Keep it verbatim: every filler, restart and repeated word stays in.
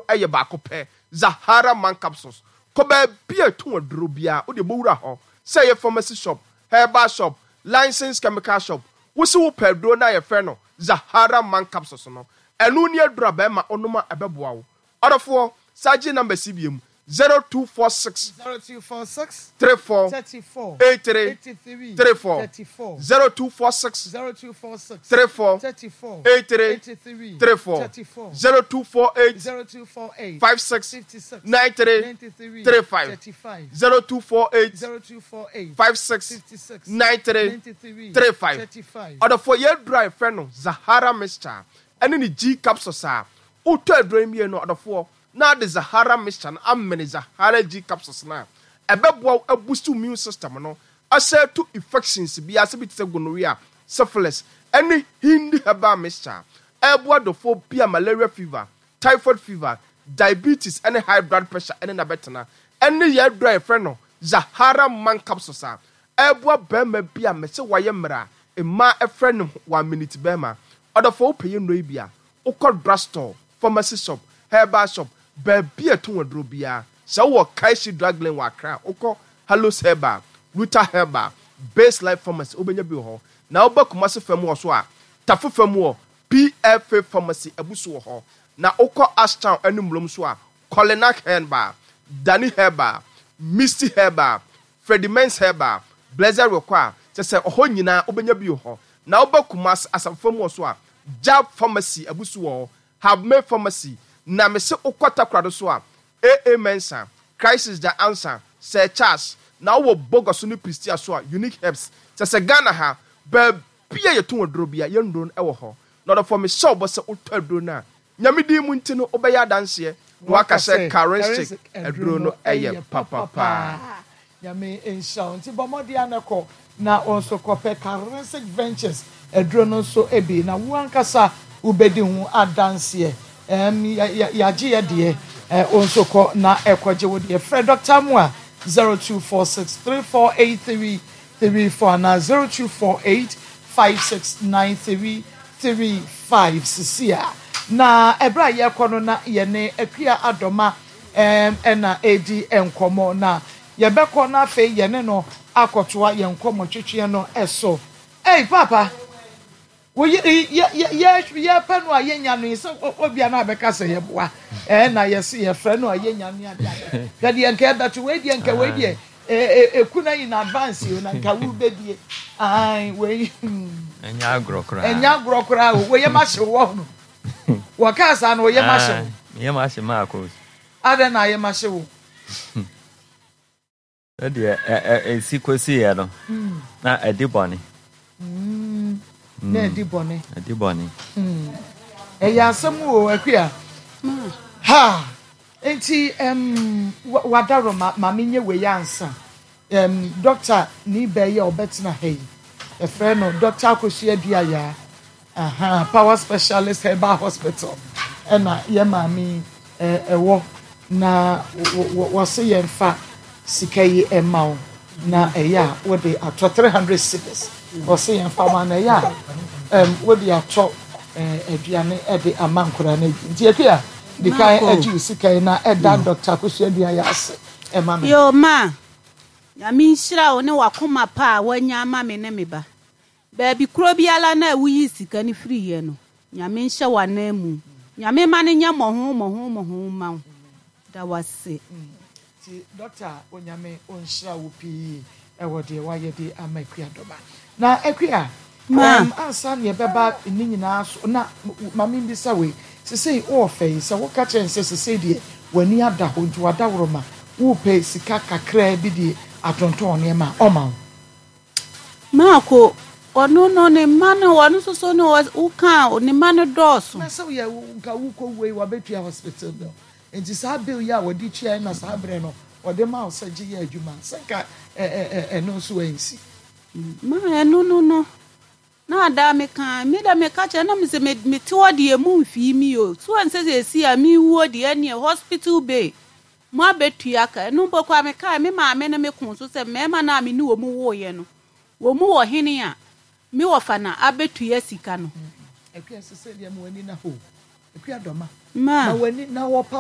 Yɛ baako pɛ, Zahara Man Capsules. Kɔ baabi a ɛtɔn aduro biara, wode bɔwura hɔ, sɛ ɛyɛ pharmacy shop, herbal shop, licensed chemical shop, wo se wopɛ aduro no a yɛfrɛ no Zahara Man Capsules no, ɛno ne aduro a bɛrima wonom a ɛbɛboa wo. Ɔdɔfoɔ, saa gye numbers yi biom, zero two four six zero two four six three four thirty four eight three eighty three three four thirty four zero two four six zero two four six three four thirty four eight three eighty three three four thirty four zero two four eight zero two four eight five six fifty six nine three ninety three three five thirty five zero two four eight zero two four eight five six fifty six nine three ninety three three five. thirty five. Ɔdɔfoɔ, yɛ aduro a yɛfrɛ no Zahara mixture ɛne ne G capsules a wotɔ aduro yi mmienu, ɔdɔfoɔ, na ade Zahara mixture no amene Zahara G capsules no a, ɛbɛboa wo aboost wo immune system no, ahyɛ to infections biara sɛ bi te sɛ gonorrhea, syphilis, ɛne Hindi herbal mixture ɛboa dɔfoɔ bi a malaria fever, typhoid fever, diabetes ɛne high blood pressure ɛne nabɛtena, ɛne yɛ aduro a yɛfrɛ no Zahara Man Capsules a ɛboa bɛrima bi a mɛsɛ wayɛ mmerɛ a mmaa ɛfrɛ no one minute bɛrima. Ɔdɔfoɔ, wopɛ yɛ nnuro yi bi a, wokɔ drugstore, pharmacy shop, herbal shop, baabi a ɛtɔn aduro biara, sɛ wowɔ Kaishi Drug Lane wɔ Accra, wokɔ Hallos Herbal, Ruta Herbal, Base Life Pharmacy, wobɛnya bi wɔ hɔ. Na woba Kumase fam wɔ so a, Tafo fam wɔ P F A Pharmacy abu so wɔ hɔ. Na wokɔ Ashtown ne Mmulom so a, Kolinak Herbal, Dani Herbal, Misty Herbal, Freddie Mens Herbal, Blessed rekɔ a kyɛ sɛ ɔhɔ nyinaa wobɛnya bi wɔ hɔ. Na woba Kumase asafo fam wɔ so a, Jab Pharmacy abu so wɔ hɔ, Habme Pharmacy. Na mese wokɔ Takorado so a, A A Mensa, Crisis the Answer, Sir Charles. Na wowɔ Bogoso ne Prestea so a, Unique Herbs. Kyɛ sɛ Ghana ha baabi a yɛtɔn aduro bia, yɛn nnuro no wɔ hɔ. Na ɔdɔfoɔ, mehyɛ wo bɔ sɛ wotɔ aduro no a, Nyame din mu nti no, wobɛyɛ adanseɛ na waka sɛ Karensic aduro no ɛyɛ papapaa. Nyame nhyira wo. Nti bɔ mmɔden a kɔ na wɔn nso kɔpɛ Karensic Ventures aduro no nso bi na wo ankasa wobɛdi ho adanseɛ. ɛm yɛagye yɛ deɛ, ɛ wo nso kɔ na ɛkɔgye wo deɛ. Frɛ Doctor mu a zero two four six three four eight three three four anaa zero two four eight five six nine three three five. Sisi a na ɛberɛ a yɛrekɔ no na yɛne Akua Adɔma ɛm ɛna ɛredi nkɔmmɔ, na yɛbɛkɔ na afei yɛne no akɔtoa yɛn nkɔmmɔ twetweɛ no ɛso. Ei papa, woyɛ yɛ yɛ yɛ yɛpɛ no a yɛnya no yi sɛ obia no abɛka sɛ yɛboa ɛɛ na yɛsi yɛfrɛ no a yɛnya no ade ade. Hwɛ deɛ nka ɛbɛto wei deɛ, nka wei deɛ ɛɛ eku na in advance yi na nka wo bɛdie ayi wei. Ɛnyɛ agorɔ koraa. Ɛnyɛ agorɔ koraa o. Wɔyɛ ma hyew wɔ no, wɔkaa saa no, wɔyɛ ma hyew. Meyɛ ma hye maakɔ. Adɛn na ayɛ ma hyew wo? Sɛdeɛ ɛsi kɔsiiɛ no na ɛdi bɔne. Na ɛdi bɔne. Ɛdi bɔne. Ɛyɛ asɛm o, Akua. Ha nti um, wadaro ma ma menyɛ wei ansa. um, doctor ni bɛyɛ a ɔbɛtena ha yi, yɛfrɛ no Doctor Akosua Duaya, aha, Power Specialist Herbal Hospital ɛna yɛ maame ɛwɔ, na wɔse yɛmfa sika yi ɛma wo na ɛyɛ a wode atɔ three hundred cedis. Wɔse yɛmfa ma na ɛyɛ a um, wode atɔ aduane ɛde ama nkwadaa no adi. Nti Akua, di kan agye wo sika yi na ɛda Doctor Akosua Duaya ase ɛma me. Yo ma, Nyame nhyira wo ne wakoma pa a woanya ama me ne me ba. Baabi kuro biara na woyi sika no firiiɛ no, Nyame nhyɛ w'anan mu. Nyame ma no nyɛ mmɔho mmɔho mmɔho ma wo. Da wase. Nti doctor, Onyame ɔnhyira wo pii ɛwɔ deɛ wayɛ de ama Akua Dɔma. Na Akua, Ma. um, ansa ne yɛbɛba ne nyinaa so na ma membisa wei: sesei wowɔ fɛ yi sɛ woka kyerɛ n sɛ sesei deɛ w'ani ada hɔ nti wadaworo ma wopɛ sika kakraa bi de atontɔn nneɛma a, ɔma wo? Maako, ɔno no ne mma no, ɔno nso so no, woka ne mma no dɔɔso. Na sɛ woyɛ nka wokɔ wei wabɛtua hospital bill, nti saa bill yi a wɔde tua na saa berɛ no wɔde ma wo sɛ gye yɛ adwuma sɛ nka ɛno nso ansi. Ma ɛno no no na ada meka me da meka kyerɛ na mesɛ mete hɔ deɛ mu mfii mi o so ɛnsɛ sɛ ɛsi a mewuo deɛ, ɛneɛ hospital bill mo abɛtua ka. Ɛno mpo koraa mekae me maame ne me ko so sɛ mmarima no a me ne wɔ mu woeɛ no, wɔ mu wɔ hene a me wɔfa na abɛtua sika no. Akua, sɛ sɛ deɛ ma w'ani na hɔ, Akua Dɔma. Ma. Ma w'ani na wɔ papa.